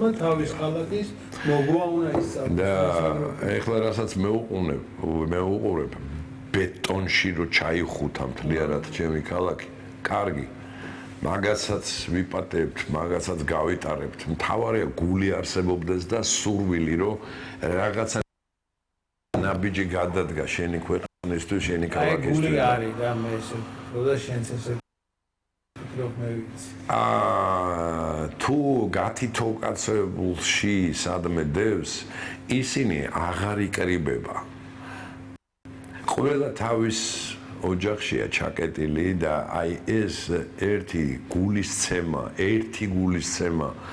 მცველმა თავის ქალაქის მოგვა უნდა ისწავლოს. და ეხლა რასაც მე უყურებ ბეტონში რო ჩაიხუთა მთლიანად ჩემი ქალაქი, კარგი. მაგასაც ვიპატებთ, მაგასაც გავიტარებთ. მთავარია გული არსებობდეს და სურვილი რომ რაღაცა ნაბიჯი გადადგა შენი ქვეყნისთვის, შენი ქალაქისთვის. გული არის და მე ესე როდა შენც ესე ფიქრობ მე ვიცი. თუ გათითოუკაცებულში სადმე დევს, ისინი აღარ იკრიბება. ყველა თავის ოჯახშია ჩაკეტილი და აი ეს ერთი გულისცემა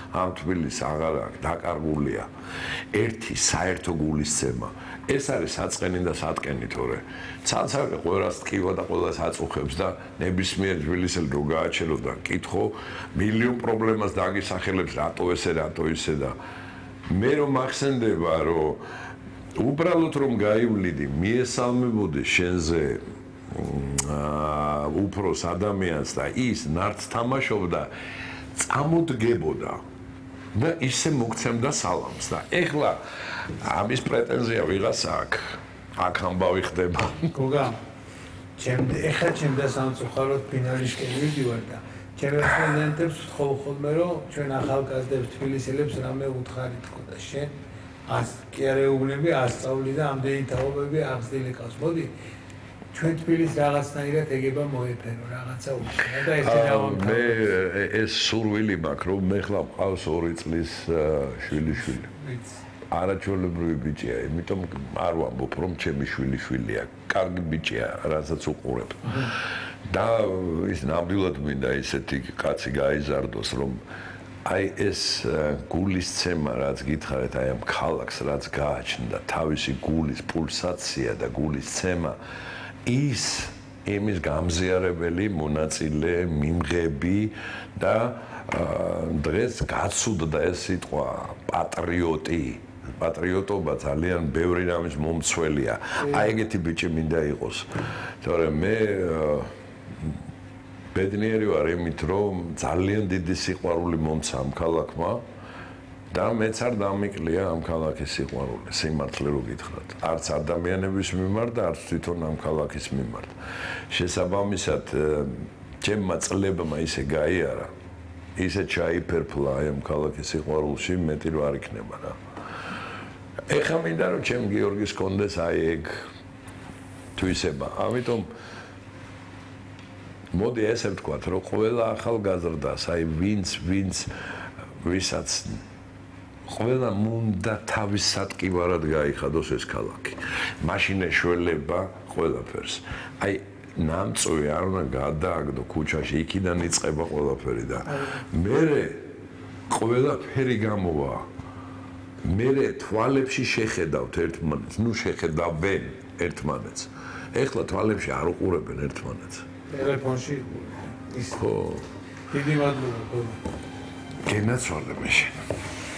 ამ თბილისს აღარ აქვს, დაკარგულია. ერთი საერთო გულისცემა. ეს არის საწყენი და სატკენი თორე. ცალ-ცალკე ყველას ტკივა და ყველას აწუხებს და ნებისმიერ თბილისელი რო გააჩერო და კითხო, მილიონ პრობლემას დაგისახელებს, რატო ესე, რატო ისე და მე რომ მახსენდება, რომ უბრალოდ რომ გაივლიდი, მიესალმებოდი შენზე უფროს ადამიანს და ის ნარც თამაშობდა, წამოდგებოდა და ისე მოგცემდა სალამს და ეხლა ამის პრეტენზია ვიღაც აქ ამბავი ხდება. გოგა, ეხლა ჩემდა სამწუხაროდ ფინალისკენ ვიდივარ და ჩემი სტუდენტებს ვთხოვ ხოლმე, რომ ჩვენ ახალგაზრდებს თბილისელებს რამე უთხარი თქო და შენ კი არ ეუბნები, ასწავლი და ამდენი თაობები აღზრდილი ყავს. მოდი ჩვენ თბილისს რაღაცნაირად ეგება მოეფერო, რაღაცა უთხრა და ესე დავამთავრე. მე ეს სურვილი მაქვს, რომ მე ხლა მყავს 2 წლის შვილიშვილი. არაჩვეულებრივი ბიჭია, იმიტომ არ ვამბობ, რომ ჩემი შვილიშვილია. კარგი ბიჭია, რასაც უყურებ. და ის ნამდვილად მინდა ისეთი კაცი გაიზარდოს, რომ აი ეს გულისცემა, რაც გითხარით, აი ამ ქალაქს, რაც გააჩნდა, თავისი გულის პულსაცია და გულისცემა, ის იმის გამზიარებელი მონაწილე, მიმღები და დღეს გაცუდდა ეს სიტყვა პატრიოტი. პატრიოტობა ძალიან ბევრი რამის მომცველია. აი ეგეთი ბიჭი მინდა იყოს. თორემ მე ბედნიერი ვარ იმით, რომ ძალიან დიდი სიყვარული მომცა ამ ქალაქმა და მეც არ დამიკლია ამ ქალაქის სიყვარული, სიმართლე რო გითხრათ. არც ადამიანების მიმართ და არც თვითონ ამ ქალაქის მიმართ. შესაბამისად, ჩემმა წლებმა ისე გაიარა, ისე ჩაიფერფლა აი ამ ქალაქის სიყვარულში, მეტი რო არ იქნება რა. ეხლა მინდა რომ ჩემ გიორგის კონდეს აი ეგ თვისება. ამიტომ მოდი ესე ვთქვათ, რომ ყველა ახალგაზრდას, აი ვისაც ყველა უნდა თავის სატკივარად გაიხადოს ეს ქალაქი. მაშინ ეშველება ყველაფერს. აი ნამწვი არ უნდა გადააგდო ქუჩაში, იქიდან იწყება ყველაფერი და მერე ყველაფერი გამოვა. მერე თვალებში შეხედავთ ერთმანეთს, შეხედავენ ერთმანეთს. ეხლა თვალებში არ უყურებენ ერთმანეთს. ტელეფონში ის ხო დიდი მადლობა. გენაცვალე მე შენ.